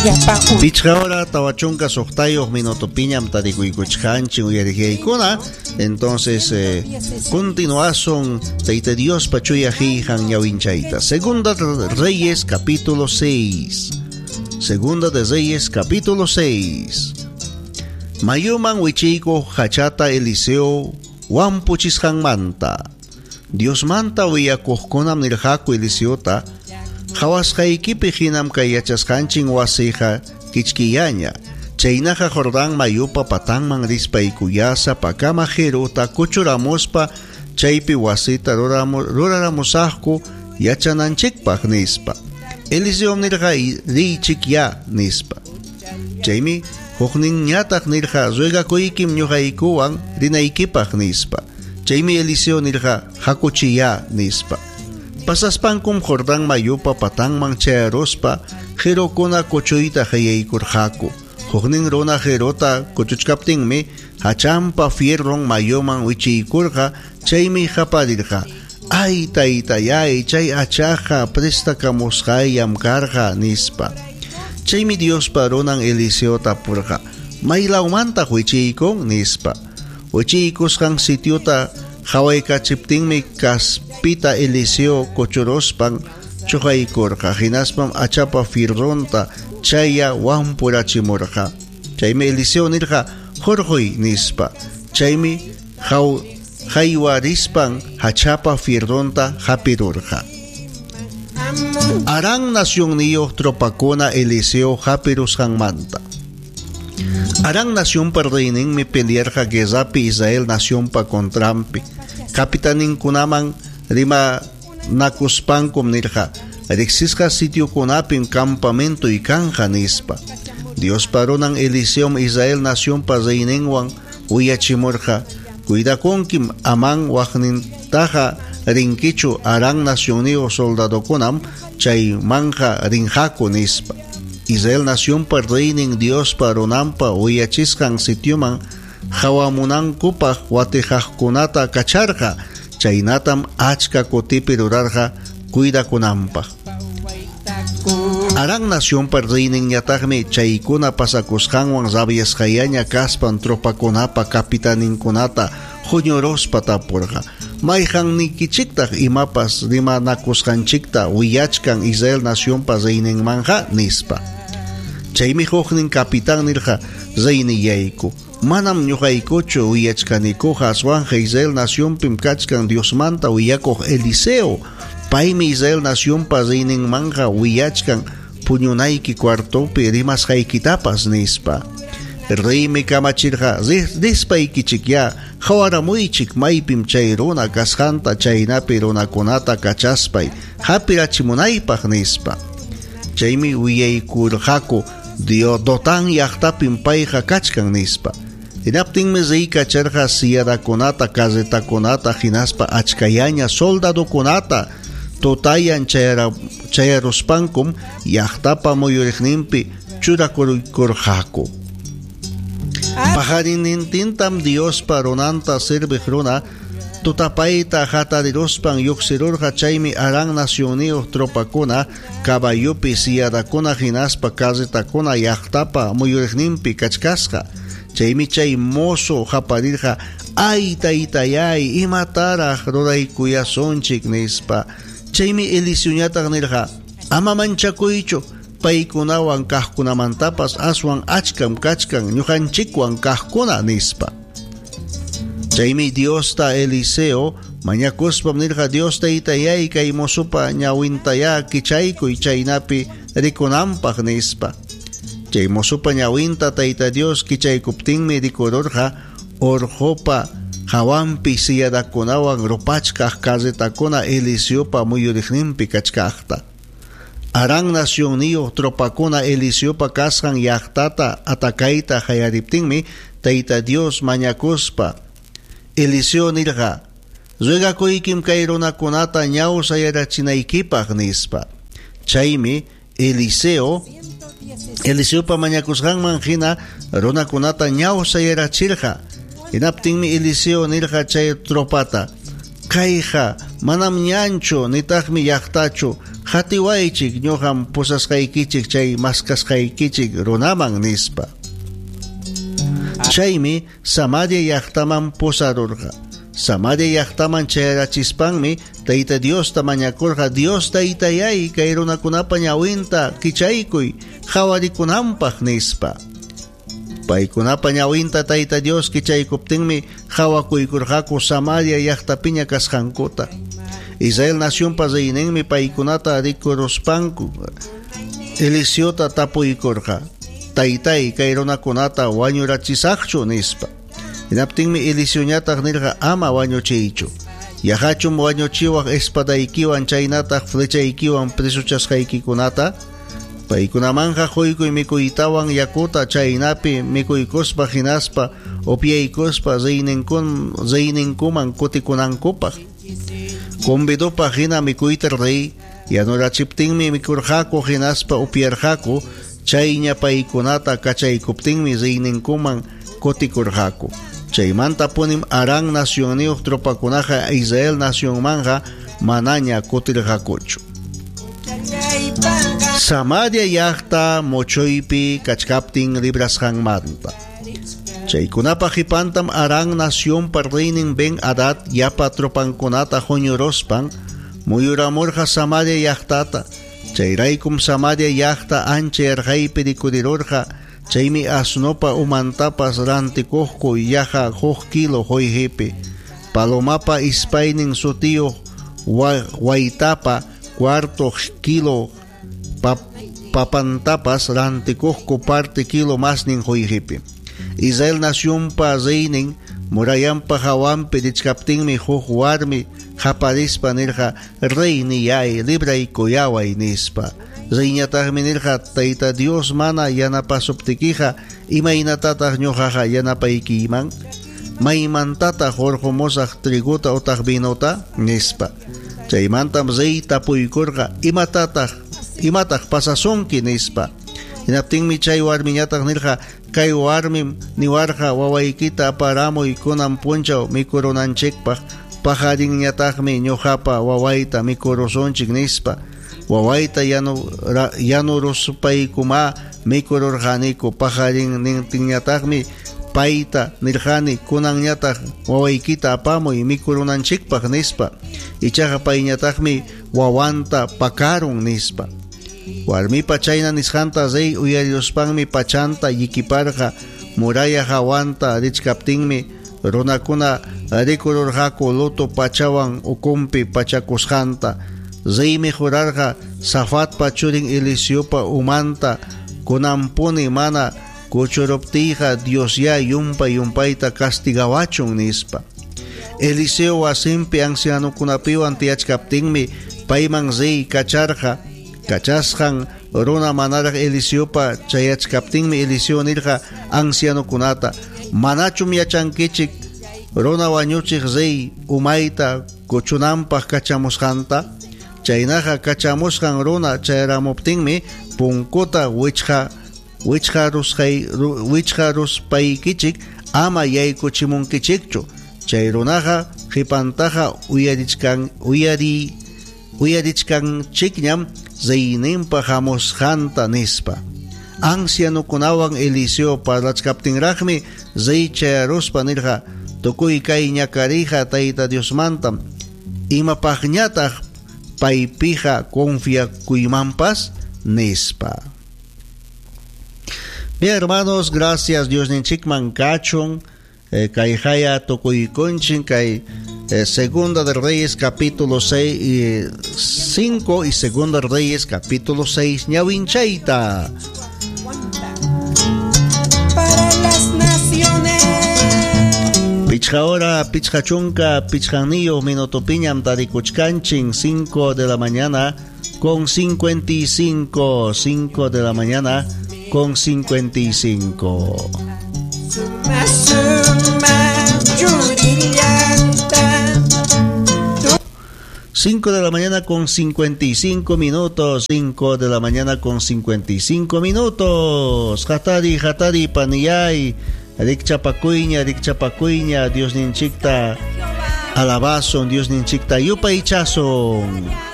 Pichqa hora 46 minutopiñam tarikuykuchkanchik uyariqyaykuna. Entonces, continuasun Tayta Diospa chuya qillqan ñawinchayta. Segunda Reyes capítulo 6. Segunda de Reyes capítulo 6. Mayuman wichiykuq hachata Eliseo wampuchisqanmanta. Diosmanta willakuqkunam nirqaku Eliseota, qhawasqaykipi hinam kay yachasqanchik wasiqa kichkillaña. Chaynaqa Jordán mayupa patanman rispaykuyá sapakama qiruta kuchuramuspa chaypi wasita ruraramusaqku yachananchikpaq nispa. Eliseo nirqa riychikyá nispa. Chaymi hukninñataq nirqa ruegakuykim ñuqaykuwan rinaykipaq nispa. Chaymi Eliseo nirqa hakuchiyá nispa. Pasaspankum Jordán mayupa patanman chayaruspa qirukuna kuchuyta qallaykurqaku. Huknin runa qiruta kuchuchkaptinmi hachanpa fierron mayuman wichiykurqa, chaymi qaparirqa: "Ay taytayay, chay hachaqa prestakamusqayllam karqa" nispa. Chaymi Diospa runan Eliseo tapurqa: "¿Maylawmantaq wichiykun?" nispa. Wichiykusqan sitiota qawaykachiptinmi kaspita Eliseo kuchuruspan chuqaykurqa, hinaspam hachapa fierronta chaya wampurachimurqa. Chaymi Eliseo nirqa: "Hurquy" nispa. Chaymi haywarispan hachapa fierronta hapirurqa. Aram nacionniyuq tropakuna Eliseo hapirusqanmanta. Aram nacionpa reyninmi pelearqa guerrapi Israel nacionpa contranpi. Capitaninkunaman rimanakuspankum nirqa: riqsisqa sitiokunapim campamentoy kanja nispa. Diospa runan Eliseom Israel nacionpa reyninwan willachimurqa: cuidakunkim, aman waqnintaqa rinkichu, Aram nacionniyuq soldadokunam chaymanja rinqaku nispa. Israel nacionpa reynin Diospa runanpa willachisqan sitioman qawamunankupaq watijaqkunata kacharqa, chaynatam achka kutipi rurarqa cuidakunanpaq. Aram nacionpa reyninñataqmi chaykuna pasakusqanwan rabiasqallaña kaspan tropakunapa capitaninkunata huñuruspa tapurqa: "¿Mayqannikichiktaq imapas rimanakusqanchikta willachkan Israel nacionpa reyninmanja?" nispa. Chaymi huknin capitán nirqa: "Reynillayku, manam ñuqaykuchu willachkanikuqa, aswanqa Israel nacionpim kachkan Diosmanta willakuq Eliseo. Paymi Israel nacionpa reyninmanja willachkan puñunayki cuartopi rimasqaykitapas" nispa. Reymi kamachirqa: "Rispaykichikyá qawaramuychik maypim chay runa kasqanta, chaynapi runakunata kachaspay hapirachimunaypaq" nispa. Chaymi willaykurqaku: "Dotán llaqtapim payqa kachkan" nispa. Hinaptinmi rey kacharqa silladakunata, carretakunata, hinaspa achkallaña soldadokunata. Tutayan chayaruspankum llaqtapa muyuriqninpi churakurqaku. Paqarinintintam Diospa runanta serviq runa tutapayta hatariruspan lluqsirurqa. Chaymi Aram nacionniyuq tropakuna caballopi silladakuna hinaspa carretakuna llaqtapa muyuriqninpi kachkasqa. Chaymi chay mozo qaparirqa: "Ay taytayay, imataraq ruraykuyasunchik" nispa. Chaymi Eliseoñataq nirqa: "Ama manchakuychu, paykunawan kaqkunamantapas aswan achkam kachkan ñuqanchikwan kaqkuna" nispa. Chaymi Diosta Eliseo mañakuspam nirqa: "Dios taytayay, kay mozopa ñawintayá kichaykuy chaynapi rikunanpaq" nispa. Chay mozopa ñawinta Tayta Dios kichaykuptinmi rikururqa urqupa hawanpi silladakunawan rupachkaq carretakuna Eliseopa muyuriqninpi kachkaqta. Aram nacionniyuq tropakuna Eliseopa kasqan llaqtata atakayta qallariptinmi Tayta Dios mañakuspa Eliseo nirqa: "Ruegakuykim kay runakunata ñawsayarachinaykipaq" nispa. Chaymi Eliseopa mañakusqanman hina runakunata ñawsayarachirqa. Hinaptinmi Eliseo nirqa chay tropata: "Kayqa manam ñanchu nitaqmi llaqtachu, Qatiwaychik, ñuqam pusasqaykichik chay maskasqaykichik runaman, nispa. Chaymi Samaria llaqtaman pusarurqa. Samaria llaqtaman chayarachispanmi Tayta Diosta mañakurqa, Dios Taytayay, kay runakunapa ñawinta kichaykuy qawarikunanpaq, nispa. Paykunapa ñawinta Tayta Dios kichaykuptinmi qawakuykurqaku Samaria llaqtapiña kasqankuta. Israel nacionpa reyninmi paykunata rikuruspanku Eliseota tapuykurqa, Taytay, kay runakunata wañurachisaqchu? nispa. Hinaptinmi Eliseoñataq nirqa, Ama wañuchiychu. Yaqachum wañuchiwaq espadaykiwan chaynataq flechaykiwan presochasqaykikunata? Paykunamanqa quykuy mikuytawan yakuta chaynapi mikuykuspa hinaspa upyaykuspa reyninkuman kutikunankupaq. Convidopaq hina mikuyta rey yanurachiptinmi mikurqaku hinaspa upyarqaku, chayña paykunata kachaykuptinmi reyninkuman kutikurqaku. Chaymantapunim Aram nacionniyuq tropakunaqa Israel nacionmanqa manaña kutirqakuchu. Samaria llaqta muchuypi kachkaptin librasqanmanta. Chaykunapa qipantam Aram nacionpa reynin Ben-Hadad llapa tropankunata huñuruspan muyuramurqa Samaria llaqtata. Chayraykum Samaria llaqta ancha yarqaypi rikurirurqa. Chaymi asnopa umantapas rantikuqku yaqa huk kilo qollqepi. Palomapa ispaynin sutiyuq waytapa cuarto kilo papantapas rantikuqku parte kilo masnin qollqepi. Israel nacionpa reynin murallanpa hawanpi richkaptinmi huk warmi qaparispa nirqa, Reyniyay, libraykuyaway, nispa. Reyñataqmi nirqa, Tayta Dios mana yanapasuptikiqa, imaynatataq ñuqaqa yanapaykiyman? Maymantataq hurqumusaq trigota utaq vinota? nispa. Chaymantam rey tapuykurqa, Imatataq, imataq pasasunki? nispa. Hinaptinmi chay warmiñataq nirqa, Kay warmim niwarqa, Wawaykita aparamuy kunan punchaw mikurunanchikpaq, paqarinñataqmi ñuqapa wawayta mikurusunchik, nispa. Wawayta yanuruspaykumá mikururqaniku, paqarinnintinñataqmi payta nirqani, Kunanñataq wawaykita apamuy mikurunanchikpaq, nispa. Ichaqa payñataqmi wawanta pakarun, nispa. Warmipa chayna nisqanta rey uyariruspanmi pachanta llikiparqa. Muralla hawanta richkaptinmi runakuna rikururqaku luto pachawan ukunpi pachakusqanta. Reymi jurarqa Safatpa churin Eliseopa umanta kunanpuni mana kuchuruptiyqa Diosyá yumpa-yumpayta castigawachun, nispa. Eliseo wasinpi ancianokunapiwan tiyachkaptinmi payman rey kacharqa. Kachasqan runa manaraq Eliseopa chayachkaptinmi Eliseo nirqa ancianokunata, Manachum yachankichik runa wañuchiq rey umayta kuchunanpaq kachamusqanta? Chaynaqa kachamusqan runa chayaramuptinmi punkuta wichqaruspaykichik ama yaykuchimunkichikchu. Chay runaqa qipantaqa uyarichkanchikñam reyninpa hamusqanta, nispa. Ancianokunawan Eliseo parlachkaptinraqmi rey chayaruspa nirqa, Tukuy kay ñakariyqa Tayta Diosmantam, imapaqñataq paypiqa confiakuymanpas, nispa. Bien, hermanos, gracias Diosninchikman kachun. Kayqaya tukuykunchik kay Segunda de Reyes capítulo 6 y 5 y Segunda de Reyes capítulo 6 ñawinchayta. Para las naciones. Pichqa hora, pichqa chunka, pichqaniyuq minutopiñam tarikuchkanchin, 5 de la mañana con 55, 5 de la mañana con 55. Suma, suma, churillanta. 5 de la mañana con 55 minutos, 5 de la mañana con 55 minutos. Hatari, hatari, paniyay, rikchapakuyña, rikchapakuyña, Diosninchikta alabasun, Diosninchikta yupaychasun.